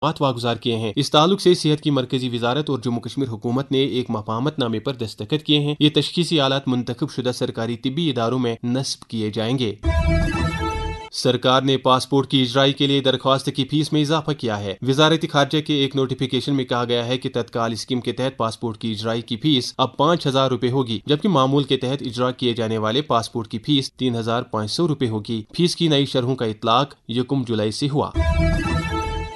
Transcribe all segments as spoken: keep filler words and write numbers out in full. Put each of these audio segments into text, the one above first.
مقامات واگزار کیے ہیں۔ اس تعلق سے صحت کی مرکزی وزارت اور جموں کشمیر حکومت نے ایک مفاہمت نامے پر دستخط کیے ہیں۔ یہ تشخیصی آلات منتخب شدہ سرکاری طبی اداروں میں نصب کیے جائیں گے۔ سرکار نے پاسپورٹ کی اجرائی کے لیے درخواست کی فیس میں اضافہ کیا ہے۔ وزارت خارجہ کے ایک نوٹیفکیشن میں کہا گیا ہے کہ تتکال اسکیم کے تحت پاسپورٹ کی اجرائی کی فیس اب پانچ ہزار روپے ہوگی، جبکہ معمول کے تحت اجرا کیے جانے والے پاسپورٹ کی فیس تین ہزار پانچ سو روپے ہوگی۔ فیس کی نئی شرحوں کا اطلاق یکم جولائی سے ہوا۔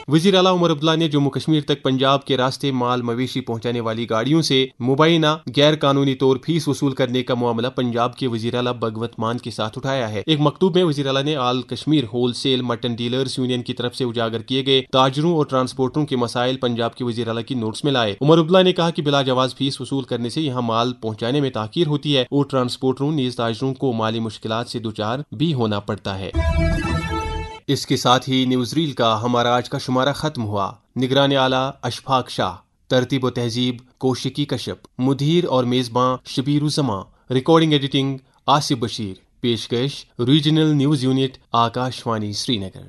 وزیر اعلیٰ عمر عبداللہ نے جموں کشمیر تک پنجاب کے راستے مال مویشی پہنچانے والی گاڑیوں سے مبینہ غیر قانونی طور فیس وصول کرنے کا معاملہ پنجاب کے وزیر اعلیٰ بھگوت مان کے ساتھ اٹھایا ہے۔ ایک مکتوب میں وزیر اعلیٰ نے آل کشمیر ہول سیل مٹن ڈیلرز یونین کی طرف سے اجاگر کیے گئے تاجروں اور ٹرانسپورٹروں کے مسائل پنجاب کے وزیر اعلیٰ کی نوٹس میں لائے۔ عمر عبداللہ نے کہا کہ بلا جواز فیس وصول کرنے سے یہاں مال پہنچانے میں تاخیر ہوتی ہے اور ٹرانسپورٹروں نیز تاجروں کو مالی مشکلات سے دچار بھی ہونا پڑتا ہے۔ اس کے ساتھ ہی نیوز ریل کا ہمارا آج کا شمارہ ختم ہوا۔ نگران اعلیٰ اشفاق شاہ، ترتیب و تہذیب کوشکی کشپ، مدیر اور میزباں شبیر الزمان، ریکارڈنگ ایڈیٹنگ آصف بشیر، پیشکش regional news unit, Akash Vani Srinagar.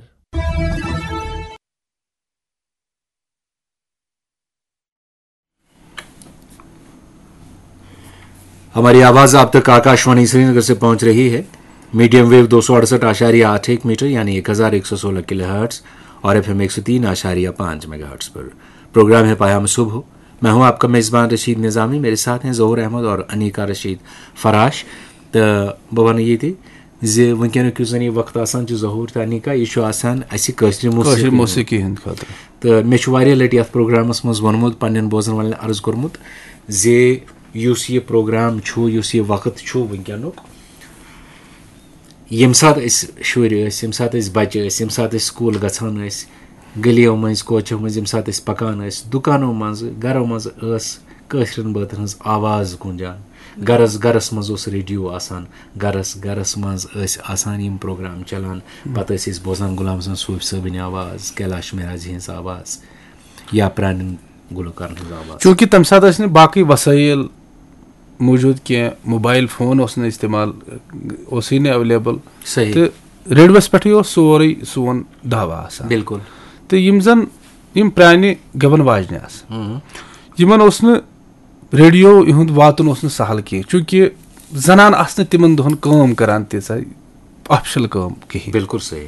ہماری آواز آپ تک آکاش وانی سری نگر سے پہنچ رہی ہے۔ میڈیم ویو دو سو اڑسٹھ آشاریہ آٹھ ایک میٹر، یعنی ایک ہزار ایک سو سولہ کلو ہرٹز، اور ایف ایم ایک سو تین آشاریہ پانچ میگا ہرٹز پر۔ پروگرام ہے پیام صبح۔ میں ہوں آپ کا میزبان رشید نظامی، میرے ساتھ ہیں ظہور احمد اور انیکا رشید فراش۔ تو بہٕ وَنہٕ یہِ تہِ زِ وٕنکیٚنُک یُس زَن یہِ وقت آسان چھُ، ظہور تہٕ انیکا، یہِ چھُ آسان اَسہِ کٲشرِ کٲشرِ موسیقی ہُنٛد۔ موسیقی ہٕنٛدِ خٲطرٕ۔ تہٕ مےٚ چھُ واریاہ لَٹہِ یَتھ پروگرامَس منٛز ووٚنمُت، پنٛنٮ۪ن بوزَن والٮ۪ن عرض کوٚرمُت زِ یُس یہِ پروگرام چھُ، یُس یہِ وقت چھُ وٕنکیٚنُک، ییٚمہِ ساتہٕ أسۍ شُرۍ ٲسۍ، ییٚمہِ ساتہٕ أسۍ بَچہٕ ٲسۍ، ییٚمہِ ساتہٕ أسۍ سکوٗل گژھان ٲسۍ، گٔلیو مٔنٛزۍ، کوچو مٔنٛزۍ، ییٚمہِ ساتہٕ أسۍ پَکان ٲسۍ، دُکانو منٛزٕ، گَرو منٛز ٲس کٲشرٮ۪ن بٲتَن ہٕنٛز آواز گوٗنجان۔ گَرَس گَرَس منٛز اوس ریڈیو آسان، گَرَس گَرَس منٛز ٲسۍ آسان یِم پروگرام چَلان۔ پَتہٕ ٲسۍ أسۍ بوزان غلام حسن صوٗفۍ صٲبٕنۍ آواز، کیلاش مہراجی ہٕنٛز آواز یا پرٛانٮ۪ن گُلوکارَن ہٕنٛز آواز۔ چوٗنٛکہِ تَمہِ ساتہٕ ٲسۍ نہٕ باقٕے وسٲیِل موٗجوٗد کینٛہہ، موبایِل فون اوس نہٕ استعمال، اوسُے نہٕ ایویلیبل۔ صحیح۔ تہٕ ریڈیوَس پٮ۪ٹھٕے اوس سورُے سون دعویٰ آسان۔ بِلکُل۔ تہٕ یِم زَن یِم پرٛانہِ گٮ۪وَن واجنہِ آسہٕ، ہُم۔ یِمَن اوس نہٕ ریڈیو یِہُنٛد واتُن اوس نہٕ سہل کینٛہہ، چوٗنٛکہِ زنانہٕ آسہٕ نہٕ تِمَن دۄہَن کٲم کَران تیٖژاہ آفیشل کٲم کِہیٖنۍ۔ بِلکُل صحیح۔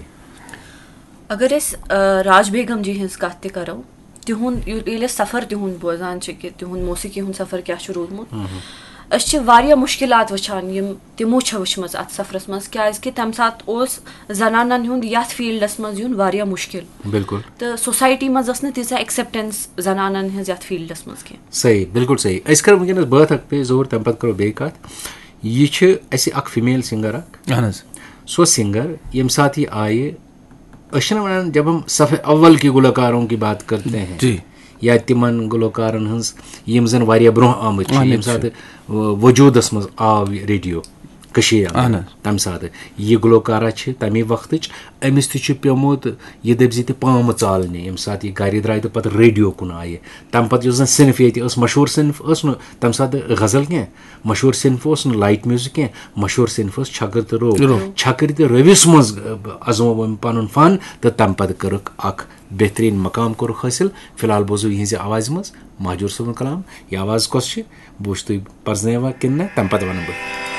اگر أسۍ، آ، راج بیگم جی ہٕنٛز کتھ تہِ کرو، تِہُنٛد یہِ-، ییٚلہِ أسۍ سفر تِہُنٛد بوزان چھِ کہِ تِہُنٛد موسیقی ہُنٛد سفر کیٛاہ چھُ روٗدمُت، أسۍ چھِ واریاہ مُشکِلات وٕچھان یِم تِمو چھےٚ وٕچھمٕژ اتھ سفرس منٛز، کیٛازِ کہِ تمہِ ساتہٕ اوس زنانن ہُنٛد یتھ فیلڈس منٛز یُن واریاہ مُشکِل۔ بِلکُل۔ تہٕ سوسایٹی منٛز ٲس نہٕ تیٖژاہ ایکسیپٹنس زنانن ہٕنٛز یتھ فیلڈس منٛز کینٛہہ۔ صحیح، بِلکُل صحیح۔ أسۍ کرو وٕنکیٚنس بٲتھ اکھ پے ظہور، تمہِ پتہٕ کرو بیٚیہِ کتھ۔ یہِ چھِ اسہِ اکھ فیمیل سنگر اکھ۔ اہن حظ۔ سۄ سنگر، ییٚمہِ ساتہٕ یہِ آیہِ، أسۍ چھِنہٕ وَنان، جب ہم صف اول کی گلوکاروں کی بات کرتے ہیں، جی۔ یا تِمن گلوکارن ہٕنٛز یِم زن واریاہ برونٛہہ آمٕتۍ چھِ، اہن ییٚمہِ حظ۔ ساتہٕ، آ، وجوٗدس منٛز آو یہِ ریڈیو کٔشیٖرِ اندر، اہن حظ۔ تَمہِ ساتہٕ یہِ گلوکارہ چھِ تَمی وقتٕچ، أمِس تہِ چھُ پیومُت یہِ دٔپۍ زِ تہِ پامہٕ ژالنہِ، ییٚمہِ ساتہٕ یہِ گرِ درٛاے تہٕ پتہٕ ریڈیو کُن آیہِ۔ تَمہِ پتہٕ یۄس زن صنف ییٚتہِ ٲس، مشہوٗر صنف ٲس نہٕ تَمہِ ساتہٕ غزل کینٛہہ، مشہوٗر صنف اوس نہٕ لایٹ میوٗزک کینٛہہ، مشہوٗر صنف اوس چھکٕر تہٕ روٚو۔ روٚو۔ چھکٕر تہٕ رٔوِس منٛز، آ، ازموو أمۍ پنُن فن تہٕ تَمہِ پتہٕ کٔرٕکھ اکھ بہترین مقام کوٚرُکھ حٲصِل۔ فی الحال بوزو یِہنٛزِ آوازِ منٛز مہجور صٲبُن کلام۔ یہِ آواز کۄس چھِ؟ بہٕ وٕچھٕ تُہۍ پرزنٲیوا کِنہٕ نہ، تَمہِ پتہٕ وَنہٕ بہٕ۔